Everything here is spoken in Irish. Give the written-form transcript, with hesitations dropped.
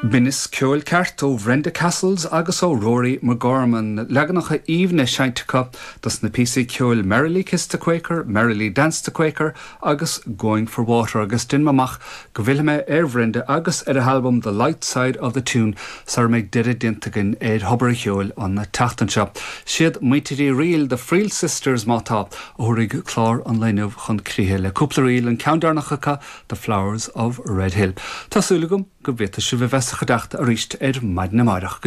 Binneas ceoil ceart ó Bhrenda Casles agus ó Rory McGorman, leaganacha aoibhne seinnte acu dos na píosaí ceoil Merrily Kiss the Quaker, Merrily Dance the Quaker agus Going for Water agus déanaim amach go bhfillfidh mé ar Bhrenda agus ar a halbam The Light Side of the Tune sara mbeidh deireadh déanta againn ar Thobar an Cheoil an tseachtain seo. Siad muintir Uí Fhrighil, The Friel Sisters má tá, a thabharfaidh clár an lae inniu chun críche le cúpla ríl, an ceann deireanach acu The Flowers of Red Hill. Tá súil agam go bhféadfaidh sibh a bheith sa chuideachta arís ar maidin amárach.